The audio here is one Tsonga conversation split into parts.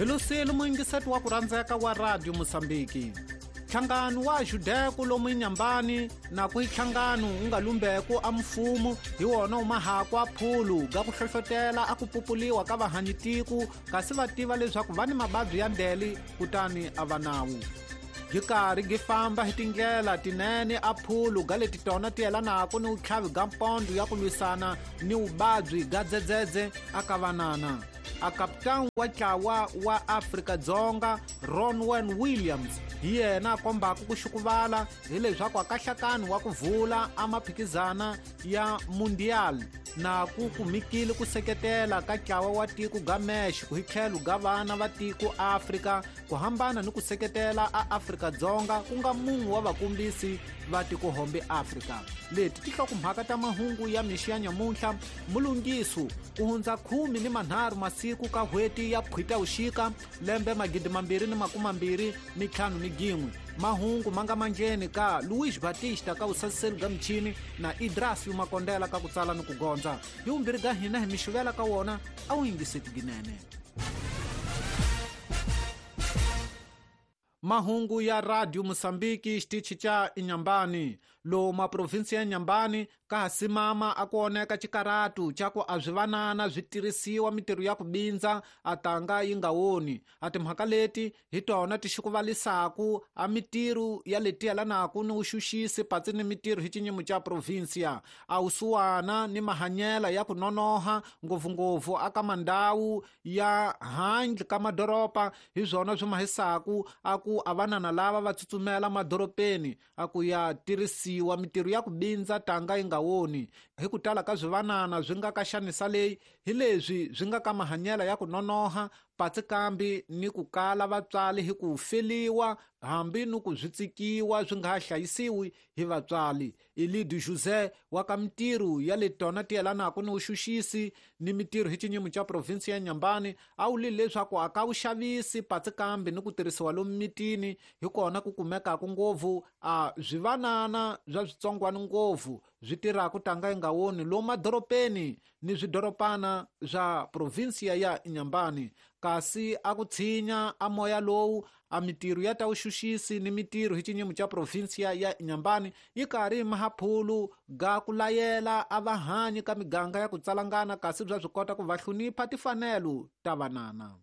Hi lusile muyingiseti wa ku rhandzeka wa Radio Mosambiki. Nhlangano wa Judeku lomu Inhambane na ku nhlangano wu nga lumbeku a mfumo hi wona wu mahakwa phulu ga ku hlohlotela a ku pupuliwa ka vahanyitiku kasi va tiva leswaku va ni mababyi ya ndele kutani a va nawu. Gi karhi gi famba hi tindlela tinene a phulu ga leti tona ti yelanaka ni vutlhavi ga mpondo ya ku lwisana ni vuvabyi ga dzedzedze a ka vanana. A kapitani wa ntlawa wa Afrika-Dzonga Ronwen Williams hi yena a kombaka ku xukuvala hileswaku a kahlakani wa ku vula a maphikizana ya Mundial na ku kumikile ku seketela ka ntlawa wa tiko ga Mexico hi tlhelo ga vana va tiko Afrika ku hambana ni ku seketela a Afrika-Dzonga ku nga mun'we wa vakombisi va tikohombe Afrika. Leti ti hlokomhaka ta mahungu ya mixo ya nyamuntlha mulungiso ku hundza 13 masiku ka n'hweti ya Phutavuxika lembe 2025. Mahungu ma nga manjeni ka Luis Batista ka vusasiseli bya michini na Idrasio Makondela ka ku tsala ni ku gondza. Hi vumbirhi bya hina hi mixivela ka wona a wu yingiseti ginene. Mahungu ya Radio Mosambiki xitichi xa Inhambane. Lomu maprovinsi ya Inhambane ka ha simama a ku oneka xikaratu xa ku a swi vanana swi tirhisiwa mitirho ya ku bindza a tanga yi nga woni. A timhaka leti hi tona ti xukuvalisaku a mitirho ya leti yelanaka ni vuxuxisi patsi ni mitirho hi xinyimo xa provinsia. A wusuwana ni mahanyela ya ku nonoha ngopfungopfu aka mandhawu ya handle ka madoroba hi swona swi mahisaku a ku a vanana lava va tsutsumela madorobeni a ku ya tirhisiwa mitirho ya ku bindza tanga yi nga woni. Hi ku tala ka swivanana swi nga ka xanisa leyi hi leswi swi nga ka mahanyela ya ku nonoha patsi kambi ni ku kala vatswari hi ku feliwa hambi ni ku swi tsikiwa swi nga ha hlayisiwi hi vatswari. Elidio José wa ka mitirho ya le tona ti yelanaka ni vuxuxisi ni mitirho hi xinyimo xa provinsi ya Inhambane a wulile leswaku a ka vuxavisi patsi kambi ni ku tirhisiwa lomu mitini hi kona ku kumekaka ngopfu a swivanana swa switsongwana ngopfu swi tirhaka tanga yi nga woni lomu madorobeni ni swidoropana swa provinsiya ya Inhambane. Kasi a ku tshinya a moya lowu a mitirho ya ta vuxuxisi ni mitirho hi xinyimo xa provinsiya ya Inhambane yi karhi mahaphulu ga ku layela a vahanyi ka miganga ya ku tsalangana kasi bya swi kota ku va hlonipha tifanelo ta vanana.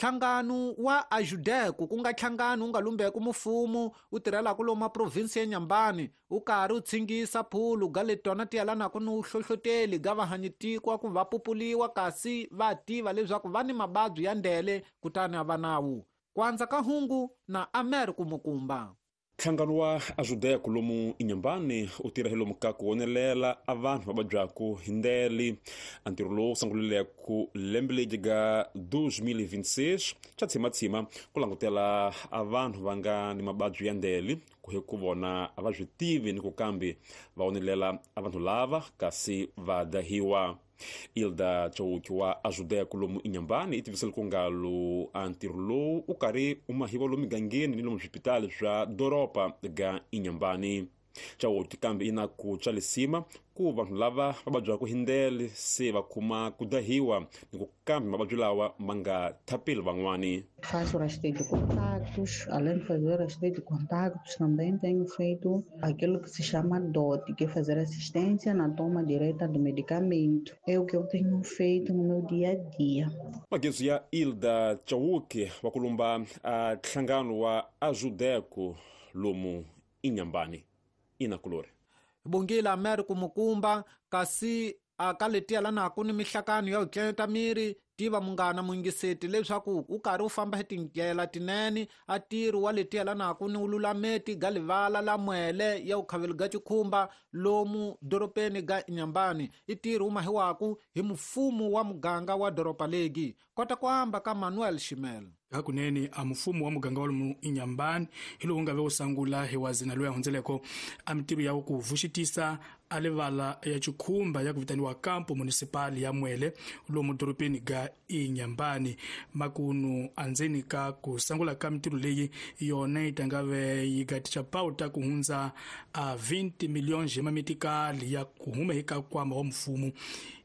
Nhlangano wa Ajudeco ku nga nhlangano wu nga lumbeku mfumo wu tirhelaka lomu maprovinsi ya Inhambane wu karhi wu tshingisa phulu ga leti tona ti yelanaka ni vuhlohloteli ga vahanyitiko ku va pupuliwa kasi va tiva leswaku va ni mababyi ya ndele kutani a va nawu. Ku andza ka hungu na Amer Kumukumba. Nhlangano wa Ajudeco lomu Inhambane u tirha hi lomu ka ku wonelela a vanhu va vabyaku hi ndele. A ntirho lowu sungulileko lembe leri ga 2026 xa tshimatsima ku langutela a vanhu va nga ni mababyi ya ndele ku hi ku vona a va swi tivi ni ku kambe va wonelela a vanhu lava kasi va dahiwa. Ilda Chauki wa Ajudeco lomu Inhambane i tivisele ku ngalo a ntirho lowu u karhi u mahiwa lomu migangeni ni lomu swipitali swa doroba ga Inhambane. Chauki kambe i na ku tswalisima ku vanhu lava va vabyaka hi ndele se va kuma ku dahiwa ni ku kambe mavabyi lawa ma nga thapeli van'wani. Faço rastreio de contactos, além de fazer rastreio de contactos, também tenho feito aquilo que se chama DOT, que é fazer assistência na toma direta do medicamento. É o que eu tenho feito no meu dia a dia. Magezu ya Ilda Chauki wa kulumba a nhlangano wa Ajudeco lomu Inhambane. Inakulore. Bongile Amer Kumukumba kasi a ka leti yelanaka ni mihlakano ya ku tlenta miri tiva munghana muyingiseti leswaku u karhi u famba hi tindlela tinene a tirhi wa leti yelanaka ni vululameti ga livala la mwele ya vukhaveli ga xikhumba lomu dorobeni ga Inhambane. I tirhi wu mahiwaku hi mfumo wa muganga wa doroba legi. Kota ku amba ka Manuel Shimel. Hakunene a mfumo wa muganga wa lomu Inhambane hi lowu nga ve wu sungula hi wazina loyi a hundzeleko a mitirho ya ku vuxitisa a livala ya xikhumba ya ku vitaniwa Campo Municipal ya Mwele lomu dorobeni ga Inhambane. Makunu andzeni ka ku sungula ka mitirho leyi yona yi ta nga ve yi gaticha pauta ku hundza a 20 milhões de mamitikali ya ku huma eka nkwama wa mfumo.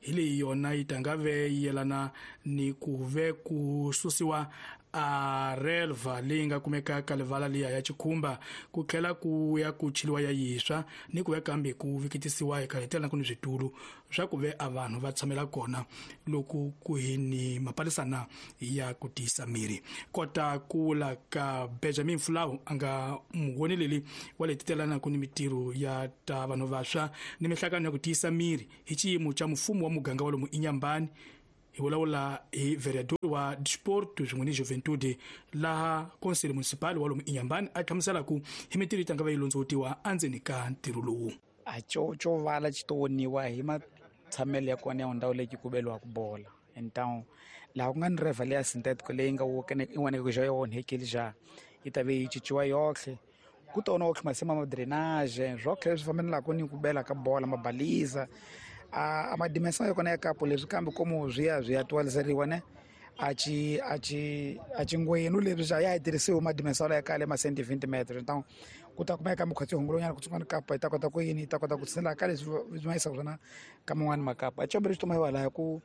Hi leyi yona yi tanga ve yelana ni ku ve ku susiwa a relva leyi nga kumeka ka livala liya ya Chikhumba, ku tlhela ku ya ku chiliwa ya yiswa ni ku ve kambe ku vikitisiwa hi kahetela ku ni switulu swa ku ve a vanhu va tshamela kona loko ku hi ni mapalisana ya ku tiyisa miri. Kota ku vula ka Benjamin Fulau a nga muwoneleli wa letitelana ku ni mitirho ya ta vanhu vantshwa ni mihlangano ya ku tiyisa miri hi xiyimo xa mfumo wa muganga wa lomu Inhambane. Hi vulavula hi vereador wa Desporto swin'we ni Juventude laha Conselho Municipal wa lomu Inhambane a hlamusela ku hi mitirho yi tanga va yi londzovutiwa endzeni ka ntirho lowu. A co vala xi to woniwa hi matshamelo ya kona ya ndhawu leyi ku beliwaka bola. Então laha ku nga ni reva leya synthetico leyi nga i voneke xa yi onhekile xa yi ta ve yi cinciwa yohle, ku tona otlhe masima ma drainage swotlhe leswi fambelaka ni ku bela ka bola mabaliza a madimensão ya kona ya kapo leswi, kambe komo swi ya swi ya twaliseriwa ne a ci a ci a cingwenu leswi xa ya hi tirhisiwe madimensão ya kale ma 120 metros. Então ku ta kumeka mukhatsi hungulonyana kutsongwana kapa yi ta kota ku yini, yi ta kota ku tshinela ka leswi swi ma yisaka swona ka man'wani makapa. A combele xi toma lahaya ku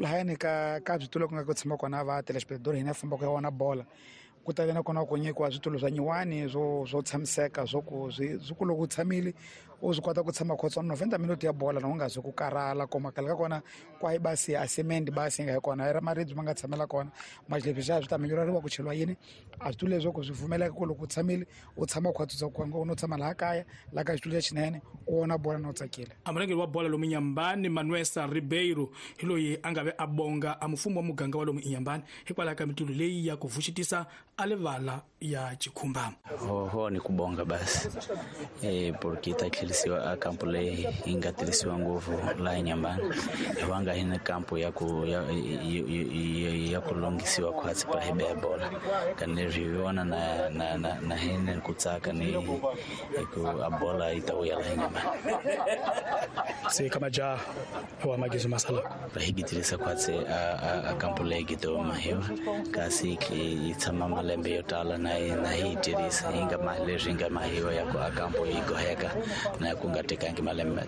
lahayani ka switulu ku nga ku tshama kona va telespectador hina fambaka ya wona bola, ku ta ve na kona ku nyikiwa switulu swa nyiwani swo tshamiseka, swo ku swi ku loko u tshamile u swi kota ku tshama khotswana 90 minutes ya bola na u nga zi ku karhala. Koma khale ka kona kwahi basi a cement basi yi nga hi kona i ra maribye ma nga tshamela kona leswi xa swi ta minyureriwa ku cheliwa yini a switulu leswi ku swi pfumeleka ku loko u tshamile u tshama khwatsutsa ku no tshama laha kaya laha ka xitulu lexinene u vona bola na u tsakile. A murhangeri wa bola lomu Inhambane Manuesa Ribeiro hi loyi a nga ve a bonga a mfumo wa muganga wa lomu Inhambane hikwalaho ka mitulu leyi ya ku vuxitisa a livala ya Chikhumba. Hoho ni kubonga basi porque ta tlherisiwa a kampo leyi yi nga tirhisiwa ngopfu laha Inhambane, hivanga hi na kampo ya ku ya ku lunghisiwa khwatsi pa hi beya bola kani leswi hi vona na hina ku tsaka ni hi ku a bola yi ta vuya laha Inhambane. Se ka majaha wa magizo masala va hi gitirisa khwatsi a kampo leyi gitoma hiwa kasi yi tshama malembe yo tala na hi tirhisa yi nga ma leswi nga mahiwa ya ku a kampo yi goheka na ku nga tekangi malembe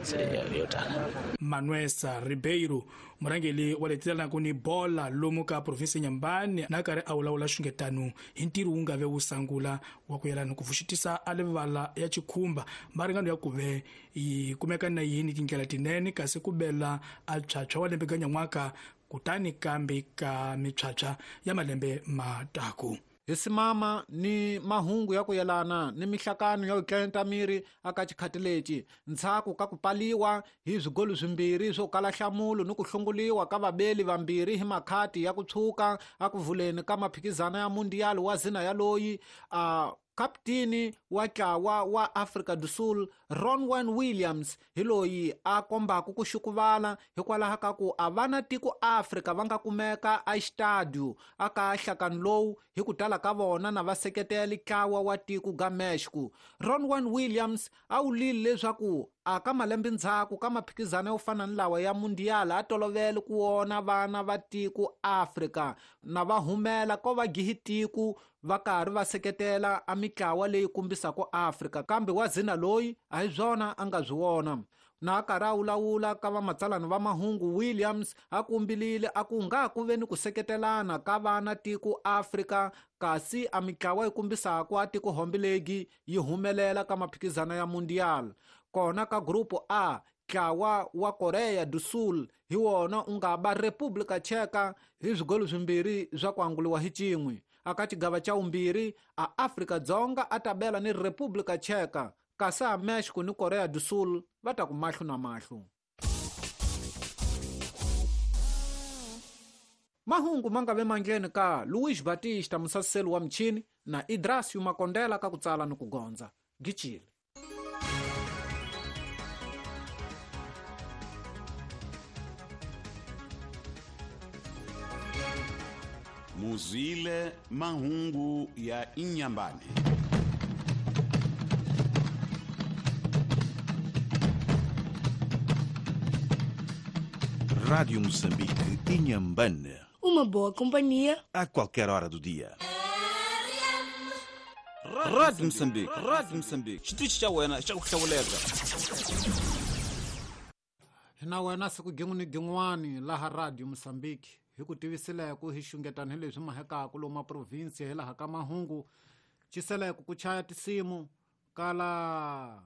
yo tala. Manuesa Ribeiro, murhangeri wa letitelanaku ni bola lomu ka provinsi Inhambane, na karhi a vulavula xungetano hi ntirho wu nga ve wu sangula wa ku yelana ku vuxitisa a livala ya Chikhumba maringano ya ku ve yi kumeka na yini tindlela tinene kasi ku bela a tshwatshwa wa lembe ganyan'waka kutani kambe ka mitshwatshwa ya malembe mataku. Hi simama ni mahungu ya ku yelana ni mihlakano ya ku tlenta miri aka xikhati lexi ndzhaku ka ku paliwa hi swigolo swimbirhi swo kala nhlamulo ni ku hlunguliwa ka vabeli vambirhi hi makhati ya ku tshuka a ku vuleni ka maphikizano ya mundial wa zina ya loyi a kapteni wa ntlawa wa Afrika do Sul Ronwen Williams hi loyi a kombaka ku xukuvala hikwalaho ka ku a va na tiko Afrika va nga kumeka a xitadio aka nhlakano lowu hi ku tala ka vona na va seketela ntlawa wa tiko ga Mexico. Ronwen Williams a wulile leswaku a ka malembe ndzhaku ka maphikizano yo fana ni lawa ya mundial a tolovele ku wona vana va tiko Afrika na va humela ko va gihi tiko va karhi va seketela a mitlawa leyi kombisaka Afrika, kambe wa zina loyi a hi swona a nga swi vona. Na a karhi a vulavula ka vamatsalani va mahungu, Williams a kumbilile a ku nga ku ve ni ku seketelana ka vana tiko Afrika kasi a mitlawa yi kombisaka a tiko hombilegi yi humelela ka maphikizano ya mundial. Kona ka grupo A, ntlawa wa Korea do Sul hi wona u nga ba República Tcheka hi swigolo swimbirhi swa ku anguliwa hi cin'we. Aka xigava xa vumbirhi a Afrika Dzonga a tabela ni República Tcheka kasi a Mexico ni Korea do Sul va ta ku mahlo na mahlo. Mahungu ma nga ve mandleni ka Luis Batista musaseli wa michini na Idrasio Makondela ka ku tsala ni ku gondza. Gichile. Muzwile mahungu ya Inhambane. Rádio Moçambique, Inhambane. Uma boa companhia a qualquer hora do dia. Rádio Moçambique, Rádio Moçambique. Xitichi xa wena xa ku hlawuleka. Hi na wena siku gin'we ni gin'wani laha Radio Mozambique hi ku tivisileko hi xungetani hi leswi mahekaku lomu maprovinsi hi laha ka mahungu ciseleko ku chaya tisimu kala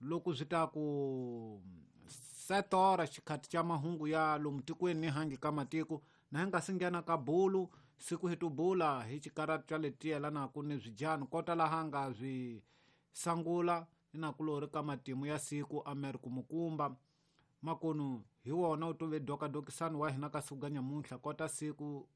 loko swi ta ku setora xikhati xa mahungu ya lomu tikweni ni hangi ka matiko na hi nga si nghena ka bulu siku hi tubula hi xikaratu xa leti yelanaka ni swidyani kota laha nga swi sangula ni nakulori ka matimu ya siku Amerika Mukumba makonu hi wona u tove dokadokisani wa hina ka siku ga nyamuntlha kota siku.